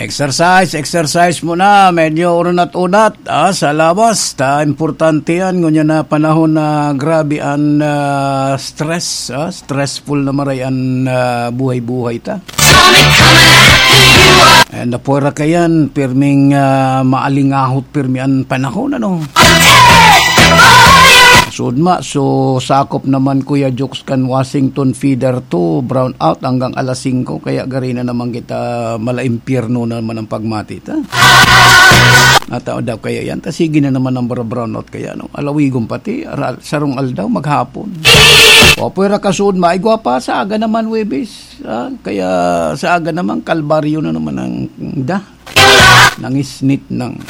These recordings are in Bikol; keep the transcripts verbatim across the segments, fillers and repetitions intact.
Exercise, exercise muna. Medyo unat-unat, ah, sa lawas. Ta, importante yan. Ngunyan na panahon na grabe ang, ah, stress, ah, stressful na maray ang, ah, buhay-buhay ta. And napwera ka yan, pirming, ah, maalingahot, pirmi ang panahon, ano? Sudma, so sakop naman, Kuya Jokes, kan Washington Feeder to, brown out hanggang alas singko, kaya gari na naman kita, mala impyerno na naman ang pagmati ta. Natao daw kaya yan, ta sige na naman ang bara-, brown out kaya, no? Alawigon pati, ara-, sarong aldaw, maghapon. O, pwera kasud, maigwa pa, sa aga naman, Webis. Ah, kaya sa aga naman, kalbaryo na naman ang da. Nangisnit nang.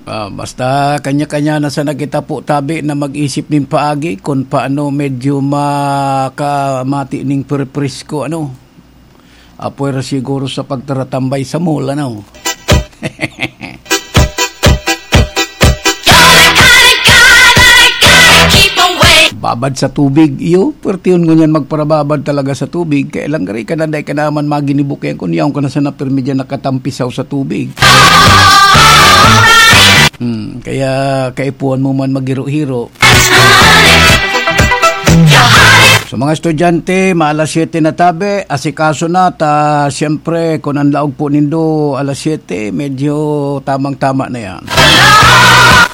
Ah, basta kanya-kanya na sana kita po tabi na mag-isip nin paagi kung paano medyo makamati ning perpresko, ano. Apwera siguro sa pagtaratambay sa mall, ano. Babad sa tubig, iyo, pwertehon ngunyan magparababad talaga sa tubig. Kaya lang, gari ka na, dai ka naman maginibukihan kun yaon ka na sana pirmi diyan nakatampisaw sa tubig. Hmm, kaya kaipuhan mo man maghiro-hiro. Sa mga estudyante, ma-alas siyete na tabi, asikaso na ta, siyempre, kung ang laog po nindo, alas siyete, medyo tamang-tama na yan.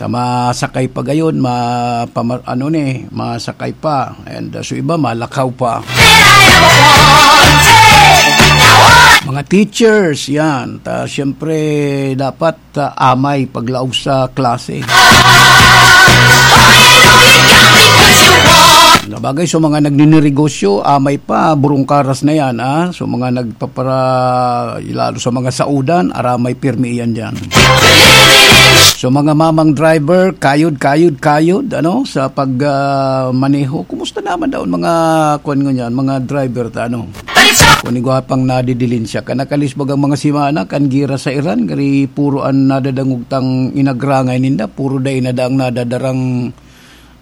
Sa masakay pa gayon, ma-, pama-, ano ni, masakay pa. And, uh, so iba, malakaw pa. Mga teachers, yan. Ta, siyempre, dapat, ah, amay paglaog sa klase. Sabagay, sa mga nagninirigosyo, amay pa, burungkaras na yan, ah. So, mga nagpapara-, lalo sa mga saudan, aramay pirmi iyan diyan. So, mga mamang driver, kayod, kayod, kayod, ano, sa pag, ah, maneho. Kumusta naman daw ang mga, kuwan ngunyan, mga driver ta, ano? Kun igwa pang nadidilin siya, kan nakalis bagang mga simana, kan gira sa Iran, gari puro an nadadangog tang inagrangay ninda, puro dai na daang nadadarang,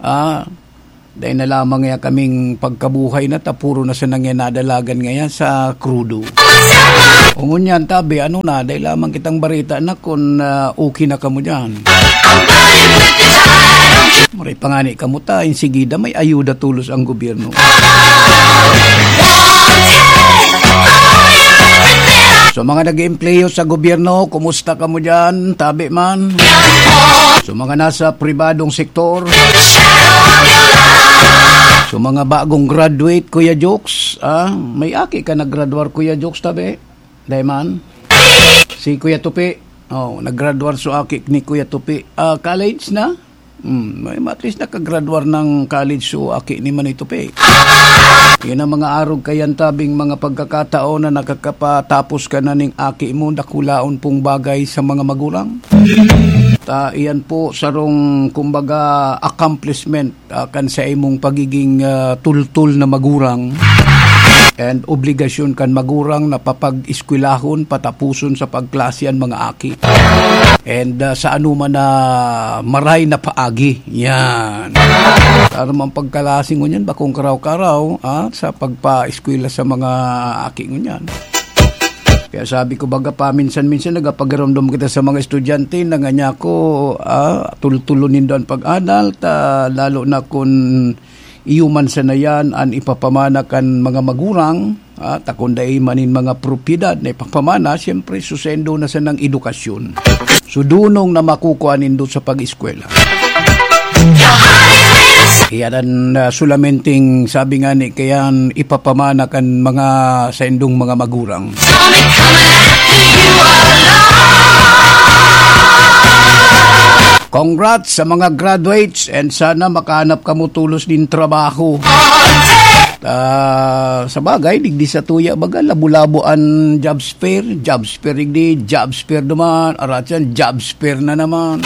ah, dai na lamang ya kaming pagkabuhay na ta, puro na sanang yan nadalagan ngayan sa krudo. O ngunyan, tabi, ano na, dai lamang kitang barita na kun, ah, okay na kamo diyan. Maray pa ngani kamo ta, insigida may ayuda tolos ang gobyerno. So, mga nag-eempleyo sa gobyerno, kumusta kamo diyan? Tabi man. So, mga nasa pribadong sektor. So, mga bagong graduate, Kuya Jokes, ah, may aki ka naggraduar, Kuya Jokes, tabi? Dai man? Si Kuya Tupi. Oh, naggraduar so aki ni Kuya Tupi. Ah, college na? Hmm, may, at least nakagraduar ng college so aki ni Manay Tupi. Yan ang mga arog kayan tabing mga pagkakataon na nakakapatapos ka na ning aki mo, dakulaon pong bagay sa mga magurang. Ta, iyan po sarong, kumbaga, accomplishment, ah, kan sa imong pagiging, ah, tultul na magurang. And obligasyon kan magurang na papag-eskwelahon, patapuson sa pagklase an mga aki. And, ah, sa anuman na maray na paagi. Yan. Para man pagkalasi ngunyan, bakong karaw-karaw, ah, sa pagpaeskwela sa mga aki ngunyan. Kaya sabi ko, baga, paminsan-minsan nagapagiromdom kita sa mga estudyante na nga niya ako, ah, tultulon nindo an pag-adal, ta, lalo na kun iyo man sana yan an ipapamana kan mga magurang, ah, ta kun dai man nin mga propiedad na ipapamana, siyempre, susendo na sanang edukasyon. So, dunong na makukua nindo sa pag-eskwela. Iyan an, ah, solamenting sabi nga ni kayan ipapamana kan mga saindong mga magurang. Congrats sa mga graduates and sana makahanap kamo tulos din trabaho. Ah, sa bagay, digdi sa tuya, baga, labo-labo an jobs fair, jobs fair digdi, jobs fair duman, arat yan, jobs fair na naman.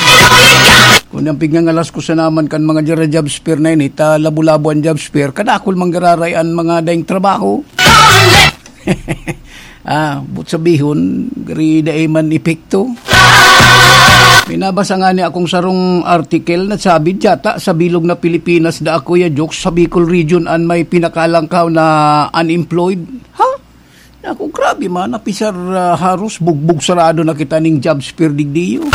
Kung ang pigngangalas ko sa naman kan mga dira jobs fair na ini, ta labo-labo an jobs fair, kadakol manggararay an mga daing trabaho. Ah, but sabihon, gari dai man epekto. May nabasa nga ni akong sarong article na sabi, "Diyata sa bilog na Pilipinas da ako ya, Jokes, sa Bicol Region an may pinakalangkaw na unemployed." Ha? Ako, grabe man, napisar, ah, haros bugbog sarado na kita ning job fair digdiyo.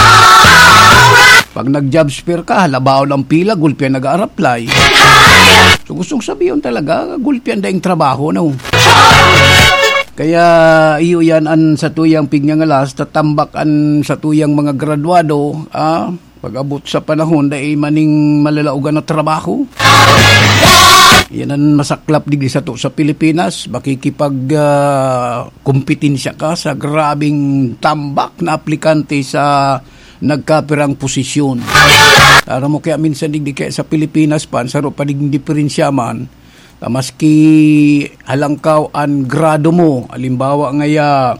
Pag nag-job fair ka, halabaon ang pila, gulpi ang nag-a-apply. So, gustong sabihin talaga, gulpi ang daing trabaho, no? Kaya iyo yan an satuyang pigngangalas, tatambak an satuyang mga graduado, ah, pag-abot sa panahon, dai maning malalaogan na trabaho. Yan an masaklap digdi sato sa Pilipinas, makikipag, ah, kompetensya ka sa grabing tambak na aplikante sa nagkapirang posisyon. Aram mo kaya minsan digdi kaya sa Pilipinas pa, an saro pa digdi diferensya man, ta maski halangkaw an grado mo, halimbawa ngaya,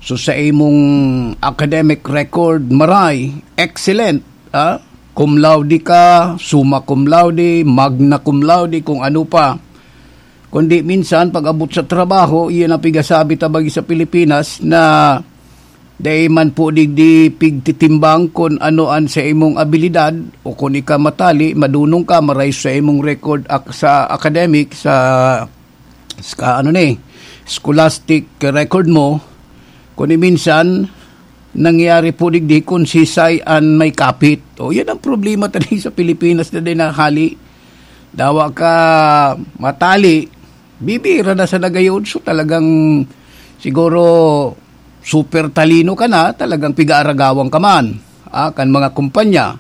so sa imong academic record, maray, excellent, ah, cum laude ka, summa cum laude, magna cum laude, kung ano pa. Kundi minsan, pag-abot sa trabaho, iyan ang pigasabi ta bagi sa Pilipinas na dai man po digdi pigtitimbang kun ano an sa imong abilidad o kun ika matali, madunong ka, maray sa imong record ak-, sa academic, sa, sa ano ni, scholastic record mo, kundi minsan, nangyari po digdi kun sisay an may kapit. O, yan ang problema tadi sa Pilipinas na din na hali. Dawa ka matali, bibira na sa nagayon. So, talagang siguro super talino ka na, talagang pigaaragawan ka man, ah, kan mga kumpanya.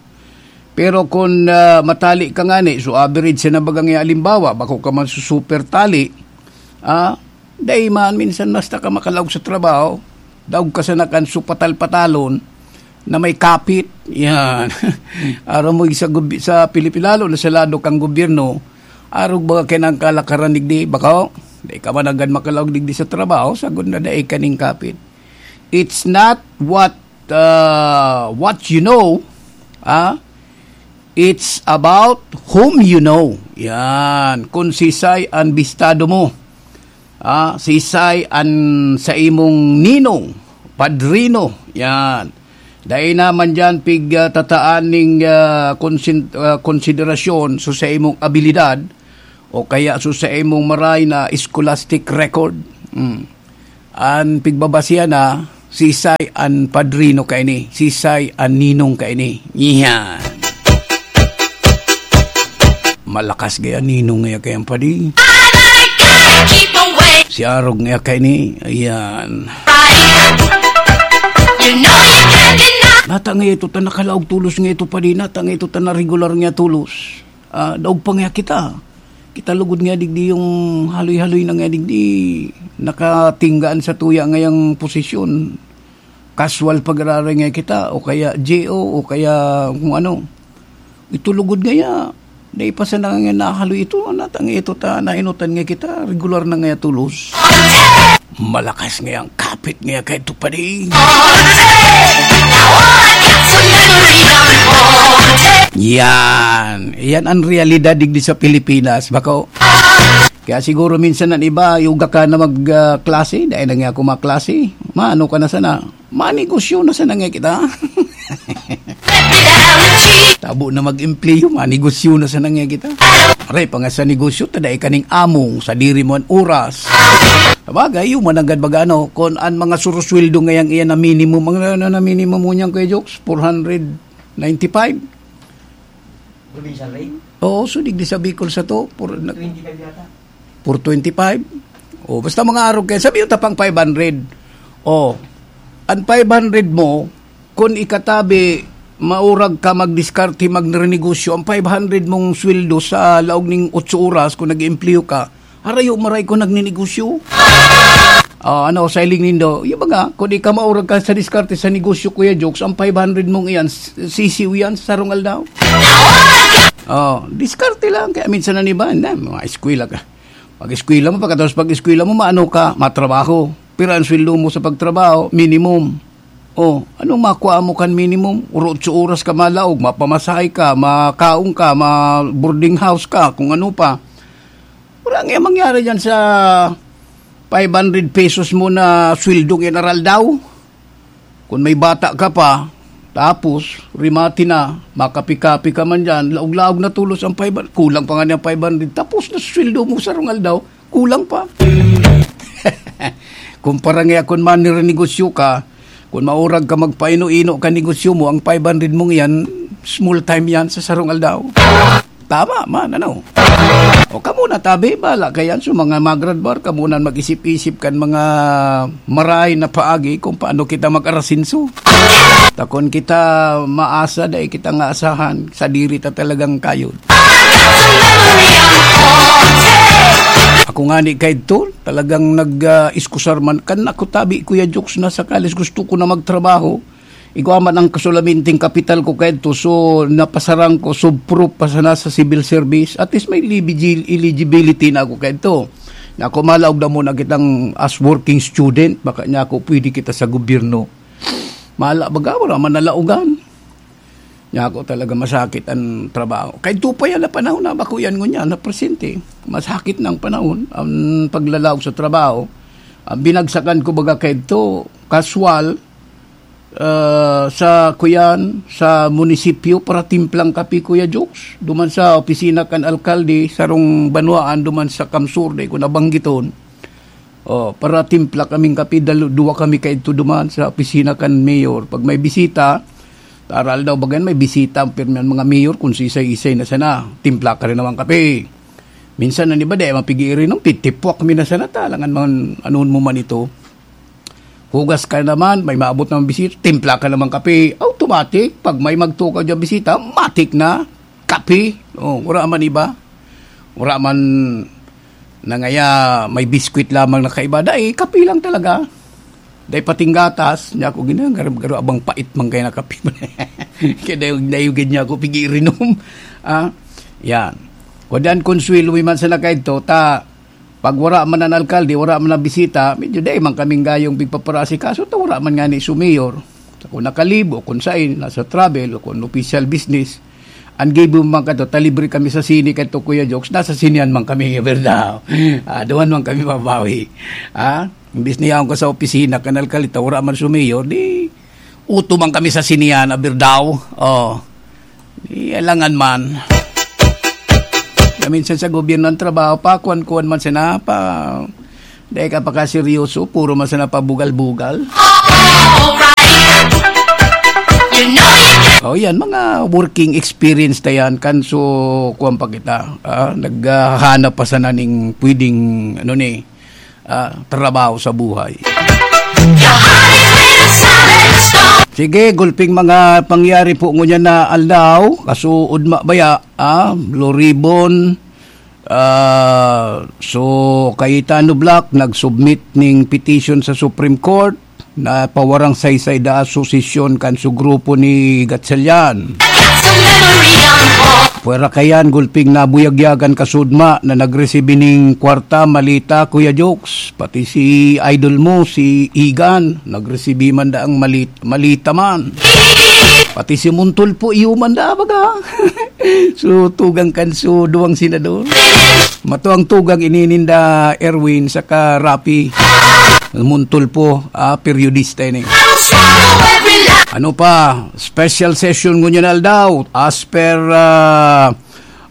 Pero kun, ah, matali ka ngani, so average sa nabagang halimbawa, bako ka man su-, super tali, ah, dai man, minsan basta ka makalaog sa trabaho, daog ka sana kan supatal-patalon na may kapit. Yan. Aram mo, sa, gob-, sa Pilipi-, lalo na sa lado kang gobyerno, arog baga kaya nang kalakaran digdi, bako, dai ka man agad makalaog digdi sa trabaho, sagod na dai ka ning kapit. It's not what, uh, what you know, ah, it's about whom you know. Yan. Kung sisay an bistado mo, ah, sisay an sa imong ninong, padrino. Yan. Dai naman diyan pig, ah, tataan ning, ah, konsin-, ah, konsiderasyon so sa imong abilidad o kaya so sa imong maray na scholastic record. Mm. An pigbabasihan na, sisay an padrino kaini, sisay an ninong kaini. Yan. Malakas gaya ninong ngaya kayang padi. Si Arog ngaya kaini. Ayan. Nata nga ito ta nakalaog tulos nga ito padi. Nata nga ito ta na regular nga tulos. Ah, daog pa nga kita. Kita lugod nga digdi yung haloy-haloy na nga digdi. Nakatinggaan sa tuya ngayang posisyon. Casual pag-araray nga kita, o kaya J O, o kaya kung ano. Ito lugod ngaya. Dai pa sana nga nahaloy ito. Natang ito ta, nainutan nga kita. Regular na nga tulos. Malakas nga ang kapit nga kay Tupadi. Yan. Yan ang realidad digdi sa Pilipinas. Bako. Kaya siguro minsan ang iba, yuga ka na mag, ah, klase. Dahil na nga ako maklase. Maano ka na sana? Manegosyo na sana nga kita. Tabo na mag-empleyo, manegosyo na sana nga kita. Aray, pa nga sa negosyo, ta dai kaning among, sadiri mo an oras. Sabagay, yung mananggad baga, ano, kung an mga surusweldo ngayang iyan na minimum, ang, ano, na minimum mo niyan, Kuya Jokes, four hundred ninety-five? Provincial rate? Oo, so digdi sa Bicol sa to, for, nag- Twenty-five yata. Four twenty-five? O, basta mga arog kayo, sabi yung tapang five hundred. O, an five hundred mo, kun ikatabi, maurag ka magdiskarte, magrenegosyo, ang five hundred mong sweldo sa laog ning otso oras, kung nag-empleyo ka, harayo maray ko nagninegosyo. Ah, ano, sa iling nindo, yung baga, kung di ka maurag ka sa diskarte sa negosyo, Kuya Jokes, ang five hundred mong iyan, s-, sisiw yan sa sarong aldaw. Oh, diskarte lang. Kaya minsan na iba, na, mga eskwela ka. Pag-eskwela mo, pagkatapos pag-eskwela mo, maano ka, matrabaho. Pero ang sweldo mo sa pagtrabaho, minimum. Oh, anong makuha mo kan minimum? Uro otso oras ka malaog, mapamasahe ka, makaon ka, ma-boarding house ka, kung ano pa. Wala nga mangyari dyan sa five hundred pesos mo na sweldo ng aral daw. Kung may bata ka pa, Tapos, rimati na, makapi-kapi ka man dyan, laog-laog na tulos ang five hundred, kulang pa nga niya five hundred, tapos na sweldo mo sa rong aldaw, kulang pa. Kumpara nga kun man nire-negosyo ka, kun maurag ka magpaino-ino ka negosyo mo, ang five hundred mong yan, small time yan sa sarong aldaw. Tama man, ano? O kamo na, tabi, bala kayan sa mga magradbar, kamo na mag-isip-isip kan mga maray na paagi kung paano kita mag-arasinso. Takon kita maasa, dai kita nga asahan, sa diri ta talagang kayod. Ako nga ni kaidto, talagang nag-iskusar man. Kan ako tabi, Kuya Jokes, nasa kalis, gusto ko na magtrabaho. Igwa man ang kasulaminting kapital ko kaidto, so napasarang ko, so proof pa sana sa civil service. At least may eligibil-, eligibility na ako kaidto. Na ako malaog na muna kitang as working student, baka niya ako pwede kita sa gobyerno. Mala, baga, wala man nalaogan. Niya ako talaga masakit ang trabaho. Kaidto pa yan na panahon na bako yan ngunyan, na presente. Masakit na ang panahon, ang paglalaog sa trabaho. Ang binagsakan ko baga kaidto, kaswal, ah, sa kuyan, sa munisipyo, para timplang kape, Kuya Jokes. Duman sa opisina kan alkalde, sarong banwaan, duman sa Kamsur, dai ko nabanggiton. Oh, para timpla kaming kape, dalo-, duwa kami kaidto duman sa opisina kan mayor. Pag may bisita, taral daw bagan may bisita, ang pirmi ang mga mayor, kung sisay-isay na sana, timpla ka rin naman kape. Minsan, ang iba, dai mapigi-irinom, titipwak mi na sana, talangan man, anuon mo man ito. Hugas ka naman, may maabot naman bisita, timpla ka naman kape. Automatic, pag may magtukaw dyan bisita, matik na, kape. Oh, wala man iba. Wala man na ngaya may biskwit lamang na kaiba. Dai, kape lang talaga. Dai pating gatas. Niya ako ginagaram-garo, abang pait man kaya na kape. Kaya dayog-dayogin niya ako, pigi-irinom. Ah, yan. Kudan, Consuelo, may man sana kaidto, ta, pag wala man ang alkalde, wala man ang bisita, medyo dai man kaming gayong pigpaparasikaso, ta wala man nga ni sumayor. Sa kung nakalib o kung sain, nasa travel o kung official business, ang gibo man kato, ta libre kami sa sine kato, Kuya Jokes, nasa sinehan man kami, berda. Ah, duman man kami mabawi. Ah, imbis na yaon ka sa opisina, kan alkalde, ta wala man sumayor, di uto man kami sa sinehan, berda. Oh. Di alangan man. Na minsan sa gobyerno ang trabaho, pa, kuwan-kuwan man sana, pa, dahil ka pa kaseryoso, puro man sana pabugal-bugal. Alright. You know you can. Oh, yan, mga working experience na yan, kan so, kuwan pa kita, ah, naghahanap pa sana ning pwedeng, ano ni, ah, trabaho sa buhay. Your heart is made of solid stone. Sige, gulping mga pangyari po ngunyan na aldaw, kasuod mabaya, ah, Blue Ribbon, ah, so, Cayetano Black nag-submit ning petition sa Supreme Court na pawarang saysay da asosasyon kan su grupo ni Gatchalian. Pwera kayan, gulping nabuyagyagan kasudma na nagresibi ning kwarta, malita, Kuya Jokes. Pati si idol mo, si Igan, nagresibi man da ang malit-, malita man. Pati si Montulfo, iyo man da, baga. So, tugang kan su duwang senador. Mato ang tugang inininda Erwin saka Rapi. Montulfo, ah, periodista ini. Ano pa? Special session ngunyan aldaw. As per, ah,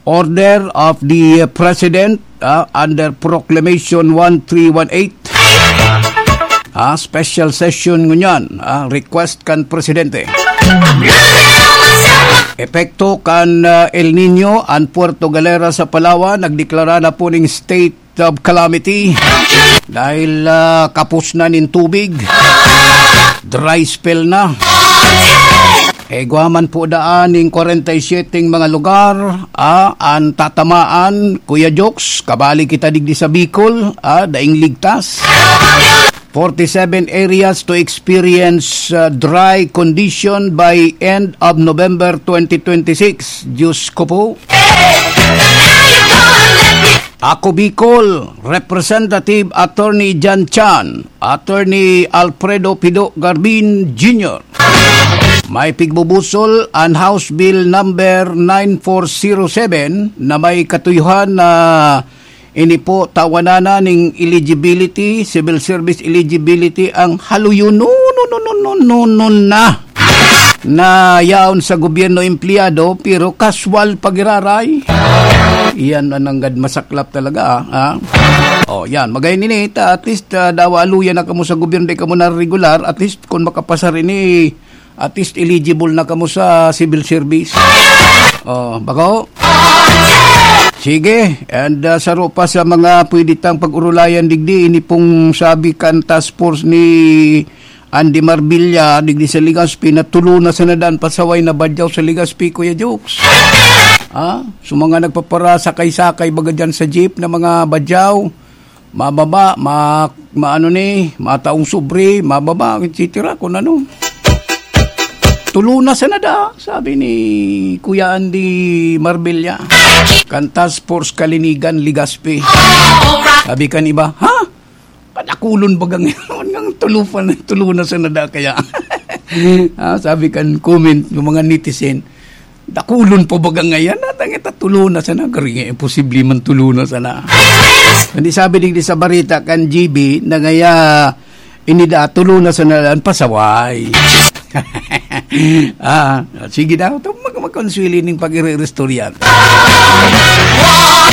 order of the President, ah, under Proclamation one three one eight. Ah, special session ngunyan, ah, request kan Presidente. Epekto kan, ah, El Niño, ang Puerto Galera sa Palawan nagdeklara na po ning state of calamity dahil, ah, kapos na nin tubig. Dry spell na. Igwa man po daan ning kwarenta y siyete mga lugar, ah, ang tatamaan, Kuya Jokes, kabali kita digdi sa Bicol, ah, daing ligtas. Forty-seven areas to experience, ah, dry condition by end of November twenty twenty-six. Diyos ko po. Ako Bicol, Representative Attorney Jan Chan, Attorney Alfredo Pido Garbin Junior. May pigbubusol an House Bill number nine four zero seven na may katuyuhan na ini po tawanana ning eligibility, civil service eligibility ang haluyon. No, no, no, no, no, no, no na. na yaon sa gobyerno empleyado, pero kaswal pagiraray. Iyan ang nanggad masaklap talaga, ah, ah. Oh, yan. Magayon ini, ta, at least, ah, dawa aluya na kamo sa gobyerno, di kamo na regular. At least, kung makapasar ini, at least eligible na kamo sa civil service. Oh, bako? Sige, and, ah, saro pa sa mga pwede tang pag-urulayan digdi, ini pong sabi kan task force ni Andy Marbella, digdi sa Legazpi, na tulo na sana daan pasaway na badyaw sa Legazpi, Kuya Jokes. Ha? So, mga nagpaparasakay-sakay baga dyan sa jeep na mga badyaw, mababa, ma-, maano ni, mataong sobre, mababa, et cetera, kung ano. Tulo na sana da, sabi ni Kuya Andy Marbella, kan Task Force Kalinigan, Legazpi. Sabi kan iba, "Ha? Padakulon baga ngayon ngang tulo pa na, tulo na sana da kaya?" Ah, sabi kan comment ng mga netizen, "Dakulon pa baga ngayon? Natang ita tulo na sana. Garing, eh, imposible man tulo na sana." Hindi sabi digdi sa barita kan G B na ngaya inida tulo na sana an pasaway. Ah, sige daw. Ito mag-, magkonswili ning pag-iri-istorya.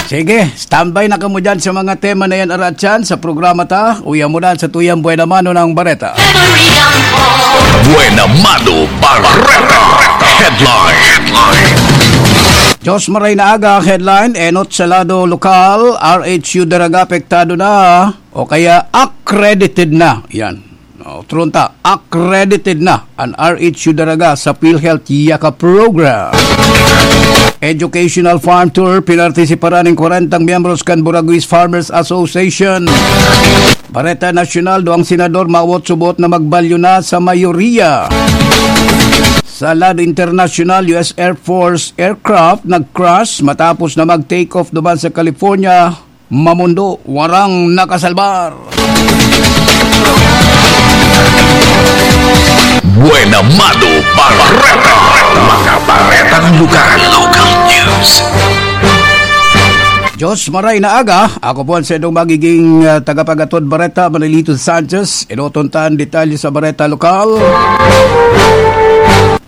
Sige, standby na kamo dyan sa mga tema na yan, aratyan, sa programa ta. Uya mo na sa tuyang Buena Mano ng Bareta. Buena Mano Bareta. Headline. Diyos maray na aga, headline, enot sa lado lokal, R H U Daraga apektado na o kaya accredited na. Yan. O, tronta, accredited na an R H U Daraga sa PhilHealth Yaka Program. Educational Farm Tour, pinartisiparan nin kwarentang miyembros kan Buraguis Farmers Association. Bareta Nasyonal, duwang senador mawot subot na magbalyo na sa mayoriya. Sa lado internasyonal, U S Air Force aircraft nag-crash matapos na mag-take off duman sa California. Mamundo, warang nakasalbar. Buena Mano Bareta. Mga baretang lokal. Local news. Diyos maray na aga. Ako po ang saindong magiging, ah, tagapagatod bareta, Manolito Sanchez. Enoton ta an detalye sa bareta lokal.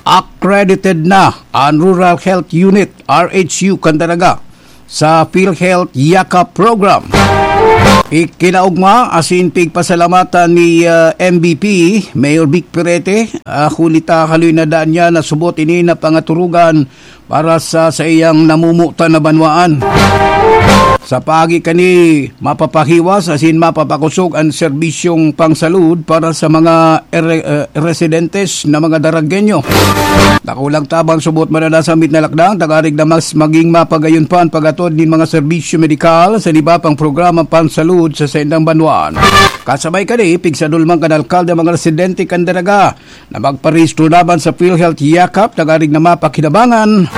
Accredited na an Rural Health Unit, R H U, kan Daraga sa PhilHealth Yaka Program. Ikinaogma asin pigpasalamatan ni, ah, M V P, Mayor Vic Perete, ah, huli ta haloy na daan niya na subot ini na pangaturugan para sa saiyang namumutan na banwaan. Sa paagi kani, mapapahiwas asin mapapakosog an serbisyong pangsalud para sa mga ere-, eh, residentes na mga Daragenyo. Dakulang tabang subot man na nasambit na lakdang, tagarig na mas maging mapagayon pa an pag-atod nin mga serbisyo medikal sa iba pang programa pansalud sa saindang banwaan. Kasabay kani, pigsadol man kan alkalde ang mga residente kan Daraga na magparehistro laban sa PhilHealth Yakap, tagarig na mapakinabangan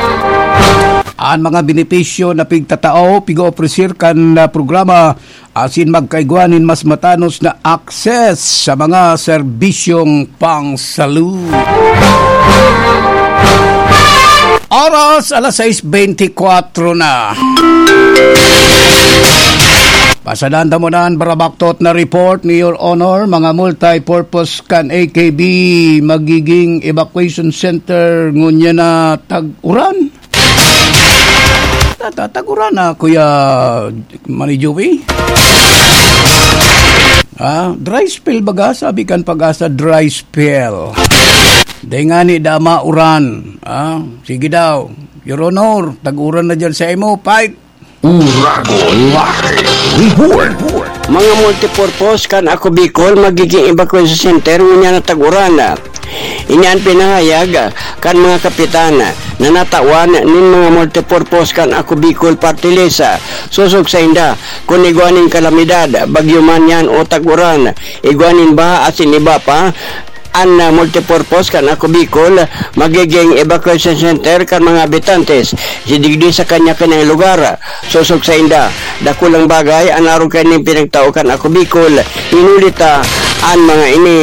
an mga benepisyo na pigtatao, pig-opreser kan, ah, programa asin magkaigwa nin mas matanos na access sa mga serbisyong pangsalud. Oras, alas sais beintikwatro na. Pasadan ta mo na an barabaktot na report ni Your Honor, mga multi-purpose kan A K B, magiging evacuation center ngunyan na tag-uran. Ta-, ta-, tag-uran na, Kuya Manny Joey. Ah, dry spell baga, sabi kan PAGASA, dry spell. Di nga ni dama uran. Ah, sige daw. Your Honor, tag-uran na dyan sa imo. Fight! Uragon Live Report. Mga multipurpose kan Ako Bicol magiging evacuation center ngunyan na tag-uran. Ini an pinahayag kan mga kapitan na natawan nin mga multipurpose kan Ako Bicol Party List. Sosog sainda, kun igwa nin kalamidad, bagyo man yan o tag-uran, igwa nin baha asin iba pa, an, ah, multipurpose kan Ako Bicol magiging evacuation center kan mga habitantes digdi sa kanya-kanyang lugar. Sosog sainda, dakulang bagay an arog kaining pinagtao kan Ako Bicol, hinuli ta an mga ini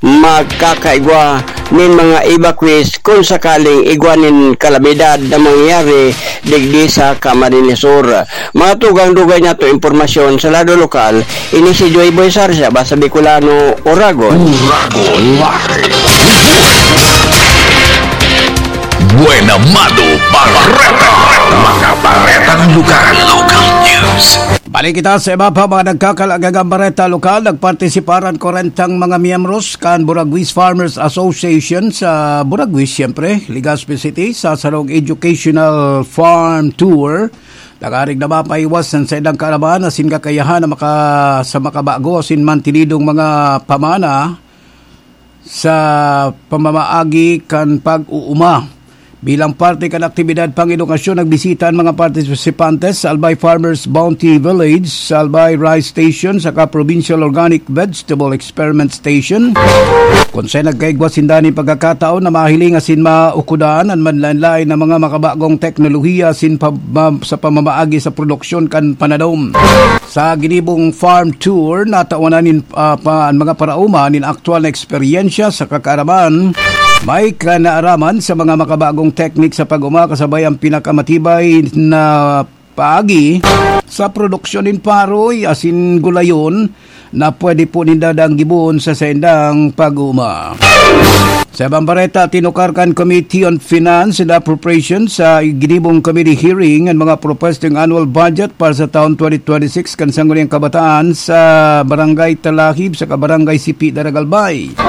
magkakaigwa nin mga evacuees kun sakaling igwa nin kalamidad na mangyayari digdi sa Camarines Sur. Mga tugang dugay nato impormasyon sa lado lokal, ini si Joy Boy Sarsia, Basa Bicolano, Oragon. Oragon Live. Buena Mano Bareta. Mga baretang lokal. Local news. Balik kita sa iba pa mga nagkakalagagang bareta lokal. Nagpartisiparan kwarenta mga miyembros kan Buraguis Farmers Association sa Buraguis, siyempre, Legazpi City, sa sarong educational farm tour. Nagarig na mapaiwas ang saindang kaaraman asin kakayahan na maka, sa makabago asin mantinidong mga pamana sa pamamaagi kan pag-uuma. Bilang parte kan aktibidad pang-edukasyon, nagbisita an mga partisipantes sa Albay Farmers Bounty Village, sa Albay Rice Station, saka Provincial Organic Vegetable Experiment Station, kun saen nagkaigwa sinda nin pagkakataon na mahiling asin maukodan an manlaen-laen na mga makabagong teknolohiya asin pam-, sa pamamaagi sa produksyon kan panadom. Sa ginibong farm tour, natawanan nin, ah, pa, an mga paraoma nin aktual na eksperyensya sa kakaaraman. May kanaaraman sa mga makabagong teknik sa pag-uma kasabay ang pinakamatibay na paagi sa produksyon nin paroy asin gulayon na pwede po ninda danggiboon sa saindang pag-uma. Sa ibang bareta, tinukar kan Committee on Finance and Appropriations sa ginibong committee hearing an mga propwestong annual budget para sa taon twenty twenty-six kan Sangguniang Kabataan sa Barangay Talahib saka Barangay Sipi, Daragalbay.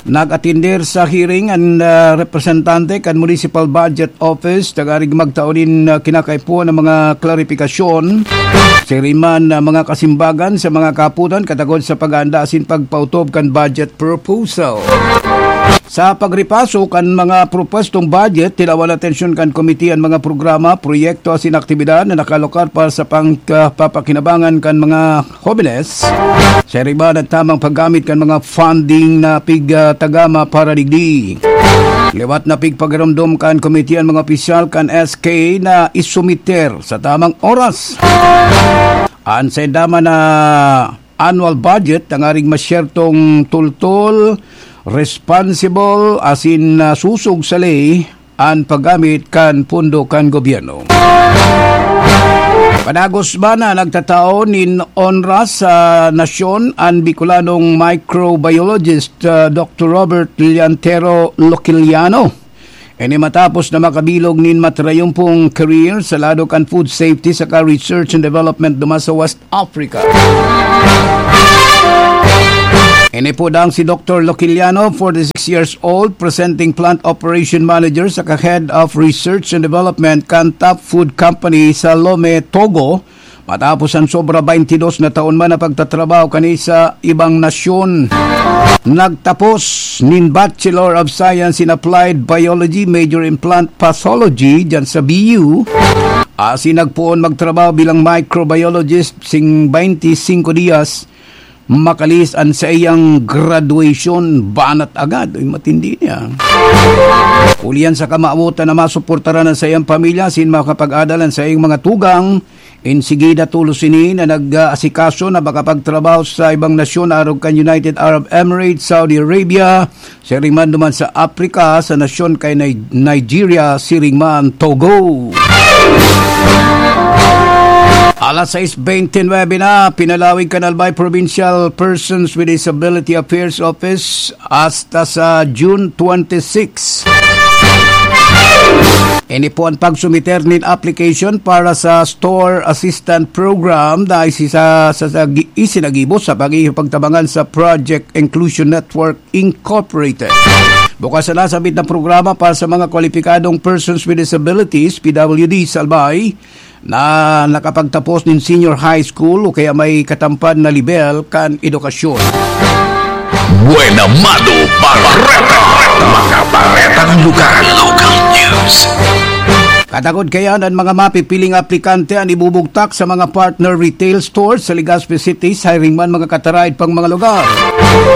Nag-atender sa hearing an, ah, representante kan Municipal Budget Office, tanganing magtao nin, ah, kinakaipuhan na mga klarifikasyon, siring man na mga kasimbagan sa mga kaputan katagod sa pag-aanda asin pagpautob kan budget proposal. Sa pagripaso kan mga propwestong budget, tinawan atensyon kan komite an mga programa, proyekto asin aktibidad na nakalokar para sa pangkapapakinabangan kan mga hobenes, siring man an tamang paggamit kan mga funding na pigtagama para digdi. Liwat na pigpagiromdom kan komite an mga opisyal kan S K na isumiter sa tamang oras an sainda man na annual budget, tanganing masyertong tultol, responsible, asin, ah, susog sa ley an paggamit kan pondo kan gobyerno. Padagos man na nagtatao nin onra sa nasyon an Bicolanong microbiologist, ah, Doctor Robert Liantero Loquiliano. Ini matapos na makabilog nin matrayumpong career sa lado kan food safety saka research and development duman sa West Africa. Ini po dang si Doctor Loquiliano, forty-six years old, presenting plant operation manager saka head of research and development kan Top Food Company sa Lome, Togo, matapos an sobra twenty-dos na taon man na pagtatrabaho kani sa ibang nasyon. Nagtapos nin Bachelor of Science in Applied Biology, major in plant pathology, dyan sa B U. Asin nagpoon magtrabaho bilang microbiologist sing twenty-singko dias, makalihis an saiyang graduation, banat agad. Uy, matindi niya. Ulian sa kamawotan na masuportaran ang saiyang pamilya, sin makapag-adal ang saiyang mga tugang, insigida tolos ini na nag-aasikaso na makapagtrabaho sa ibang nasyon, arog kan United Arab Emirates, Saudi Arabia, siring man duman sa Africa, sa nasyon kay Ni-, Nigeria, siring man Togo. Alas sais bente nuebe na, pinalawig kan Albay Provincial Persons with Disability Affairs Office hasta sa June twenty-six. Ini po ang pagsumiter nin application para sa Store Assistant Program na isisa-, sa, sa, isinagibo sa pag-iipagtabangan sa Project Inclusion Network Incorporated. Bukas na sabit na programa para sa mga kwalipikadong persons with disabilities, P W D, sa Albay, na nakapagtapos nin senior high school o kaya may katampad na lebel kan edukasyon. Buena Mano Bareta. Mga baretang lokal. Local news. Katakod kaya an mga mapipiling aplikante an ibubugtak sa mga partner retail stores sa Legazpi City, siring man mga kataraed pang mga lugar.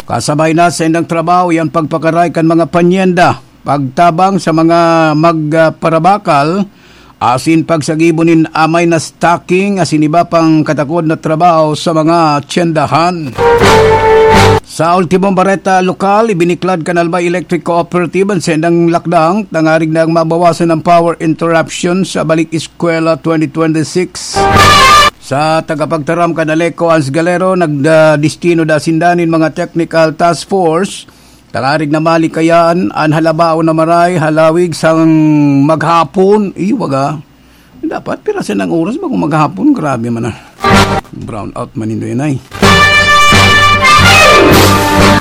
Kasabay na sa indang trabaho, yan pagpakaray kan mga panyenda, pagtabang sa mga magparabakal, asin pagsagibo nin amay na stocking asin iba pang katakod na trabaho sa mga tyendahan. Sa ultimong bareta lokal, ibiniklad kan Albay Electric Cooperative an saindang lakdang tanganing mabawasan ang power interruption sa Balik Eskwela twenty twenty-six. Sa tagapagtaram kan ALECO, Hans Galero, nagdestino da sinda nin mga technical task force Tangarig na malikayan an halabaon na maray, halawig sang maghapon. Iwaga. Dapat pirasan ang oras ba kung maghapon? Grabe man na. Brown out man nindo yan ay.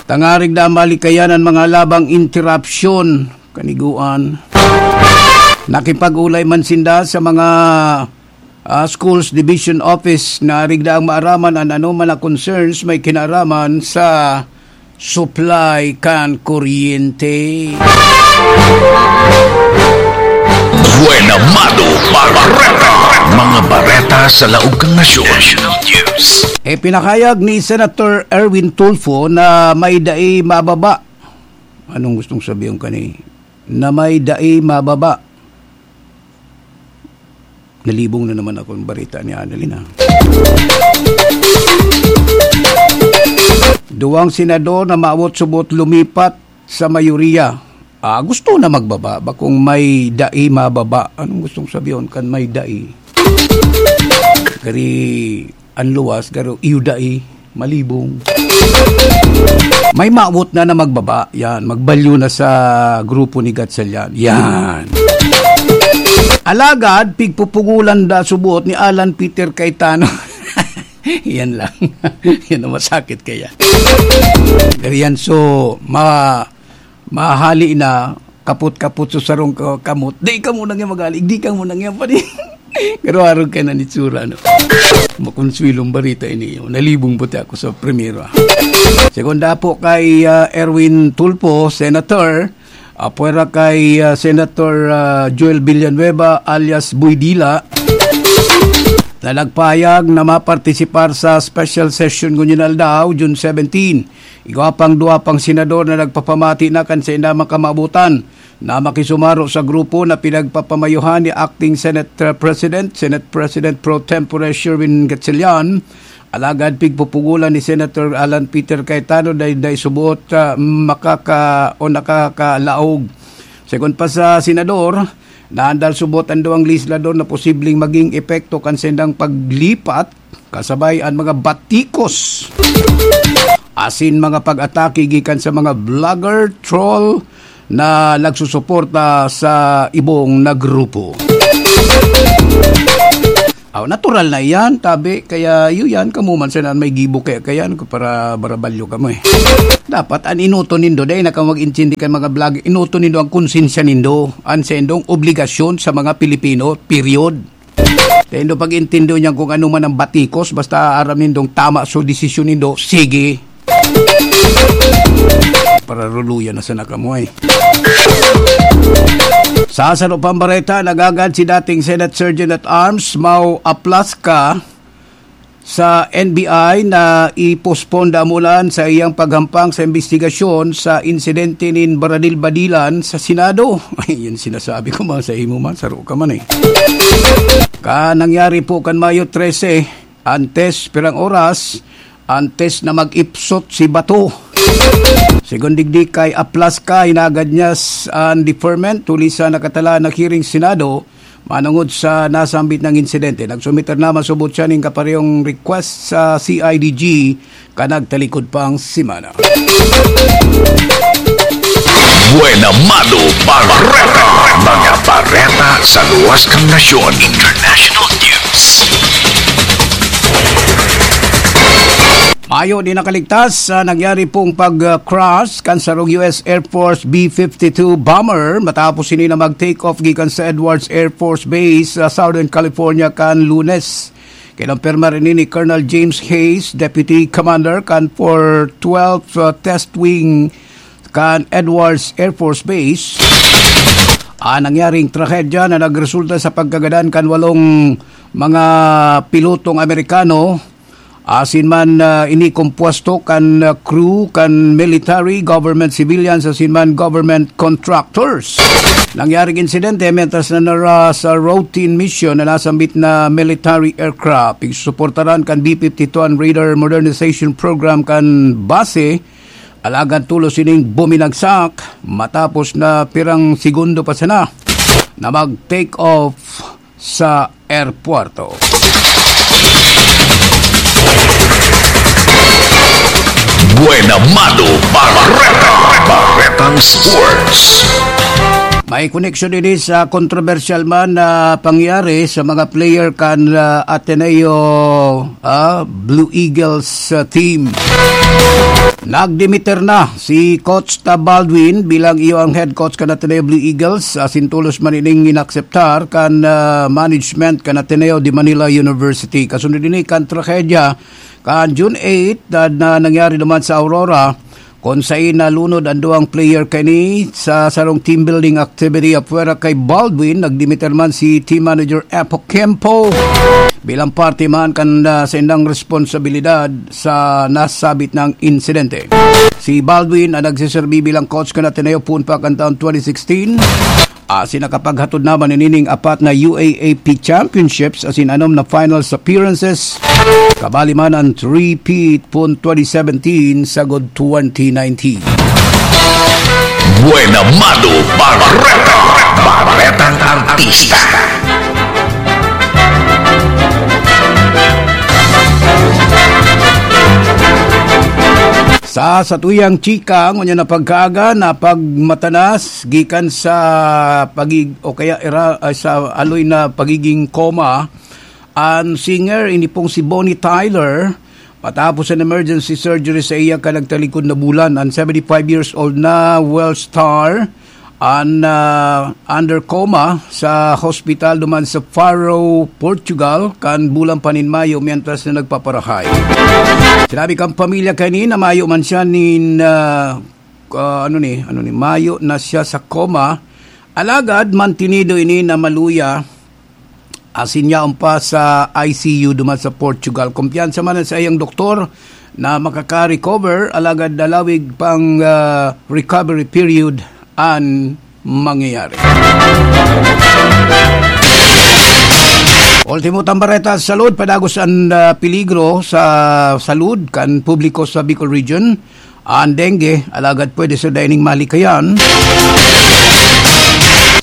Tangarig na malikayan ang mga labang interruption. Kaniguan. Nakipag-ulay man sinda sa mga, ah, schools division office na rigda ang maaraman an anoman na concerns may kinaraman sa supply kan kuryente. Buena Mado Bareta. Mga bareta sa laog kan nasyon. National News. E, pinakayag ni Senator Erwin Tulfo na may dai mababa. Anong gustong sabihin kani? Na may dai mababa. Nalibong na naman ako ng barita ni Annalyn, ha. Duwang senador na mawot subot lumipat sa mayoriya. Ah, gusto na magbaba. Bakong may dai mababa. Anong gustong sabihin kan may dai? Kari an luwas, garo iyo dai, malibong. May mawot na na magbaba, yan, magbalyo na sa grupo ni Gatchalian. Yan. Alagad, pigpupugulan da subot ni Alan Peter Cayetano. Yan lang. Yan ang masakit kaya. Pero yan, so, ma-, mahali na, kapot-kapot sa sarong ka-, kamot. Di ka muna nga magaling, di ka muna nga pa rin. Pero arog ka na ni tsura, no? Makonsuelong barita ini. Nalibong puti ako sa primero, ah. Segunda po kay, ah, Erwin Tulfo, Senator. Apwera kay, ah, Senator, ah, Joel Villanueva alias Boy Dila na nagpahayag na mapartisipar sa special session ngunyan aldaw, June seventeen. Igwa pang duwa pang senador na nagpapamati na kan sainda makamabutan na makisumaro sa grupo na pinagpapamayohan ni Acting Senate, uh, President, Senate President Pro Tempore Sherwin Gatchalian, alagad pigpupugulan ni Senator Alan Peter Cayetano dai, dai subot, uh, makaka-, o nakakalaog. Segun pa sa senador, naandal subot an duwang legislador na posibleng maging epekto kan saindang paglipat kasabay an mga batikos asin mga pag-atake gikan sa mga vlogger, troll na nagsusuporta sa ibong na grupo. Aw, natural na iyan, tabi. Kaya, iyo yan, kamo man sana may gibo kaya, kaya, ano, para barabalyo kamo, eh. Dapat, an inoto nindo, dai na kamo mag-intindi kan mga vlog, inoto nindo ang konsensya nindo, an sendong obligasyon sa mga Pilipino, period. Dai nindo pag-intindo niyan kung ano man ang batikos, basta aram nindong tama so desisyon nindo, sige. Pararuluyan na sana kamo, eh. Sa saro pang bareta, nagagad si dating Senate Sergeant at Arms, Mau Aplaska, sa N B I na i-postpone damulan sa iyang paghampang sa imbestigasyon sa insidente nin baradil-badilan sa Senado. Yan sinasabi ko, man, sa imo man, saro ka man, eh. Ka nangyari po kan Mayo trese, antes pirang oras, antes na mag-ipsot si Bato. Segun digdi kay Aplaska, hinagad niya s-, an deferment huli sa nakatalaan na hearing Senado manongod sa nasambit na insidente. Nagsumiter naman subot siya nin kaparehong request sa C I D G kan nagtalikod pang semana. Buena Mado Bareta. Mga bareta sa luwas kan nasyon. International News. Mayo di nakaligtas sa nangyari pong pag-crash kan sarong U S Air Force B fifty-two bomber matapos ini na mag-take off gikan sa Edwards Air Force Base sa Southern California kan Lunes. Kinumpirma rin ni Colonel James Hayes, Deputy Commander kan four twelve, uh, Test Wing kan Edwards Air Force Base, ang nangyaring trahedya na nagresulta sa pagkagadan kan walong mga pilotong Amerikano, asin man, ah, ini kompuesto kan, ah, crew kan military, government civilians, asin man government contractors. Nangyaring insidente mentras na nara sa routine mission na nasambit na military aircraft. Pigsusuportaran kan B fifty-two an radar modernization program kan base, alagad tolos ining buminagsak matapos na pirang segundo pa sana na mag-take off sa airporto. Buena Mado Bareta. Sports. May koneksyon ini sa kontrobersyal man na pangyayari sa mga player kan, ah, Ateneo, ah, Blue Eagles, ah, team. Nagdimiter na si Coach ta Baldwin bilang iyo ang head coach kan Ateneo Blue Eagles. Asin tolos man ining inakseptar kan, ah, management kan Ateneo de Manila University. Kasunod ini kan trahedya kan June eight na, na nangyari naman sa Aurora, kung sain nalunod ang duwang player kani sa sarong team building activity. Apwera kay Baldwin, nagdimiter man si team manager Apo Kempo bilang parte man kan, ah, sa indang responsabilidad sa nasabit na insidente. Si Baldwin ang nagsiserbi bilang coach kan Ateneo poon pa kan taon twenty sixteen. Asin nakapaghatod naman nining apat na U A A P Championships asin anom na finals appearances. Kabali man ang three-peat poon twenty seventeen sagod twenty nineteen. Buena Mano Barreta, Barretang Artista. Sa satuyang chika, ngunyan na pagkaaga na pagmatanas gikan sa pagig-, o kaya ira-, ah, sa aloy na pagiging coma, ang singer, ini pong si Bonnie Tyler, matapos an emergency surgery sa iya kan nagtalikod na bulan, ang seventy-five years old na Welsh star, an, ah, under coma sa hospital duman sa Faro, Portugal, kan bulan pa nin Mayo, mientras na nagpaparahay. Sinabi kan pamilya kani na mayo man siya nin, ah, ah, ano ni, ano ni, mayo na siya sa coma. Alagad mantinido ini na maluya, asin yaon pa sa I C U duman sa Portugal. Kumpiyansa man sa iyang doktor na makaka-recover, alagad lalawig pang, ah, recovery period an mangyayari. Ultimo tambareta sa salud, padagos an, ah, peligro sa salud kan publiko sa Bicol Region. An dengue, alagad pwede sa daining malikayan.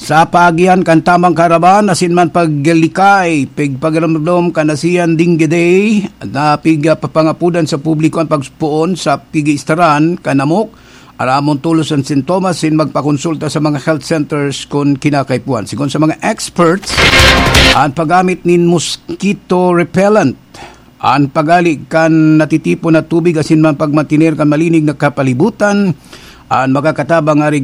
Sa paagihan kan tamang kaaraman, asin man paglikay, pigpagaramdom kan ASEAN Dengue Day, na pigpapangapodan sa publiko an pagpoon sa pigiistaran kan namok, aramon tolos an sintomas, sin magpakonsulta sa mga health centers kun kinakaipuhan. Sigon sa mga experts, an paggamit nin mosquito repellent, an paggali kan natitipon na tubig asin man pagmantener kan malinig na kapalibutan, an makakatabang arig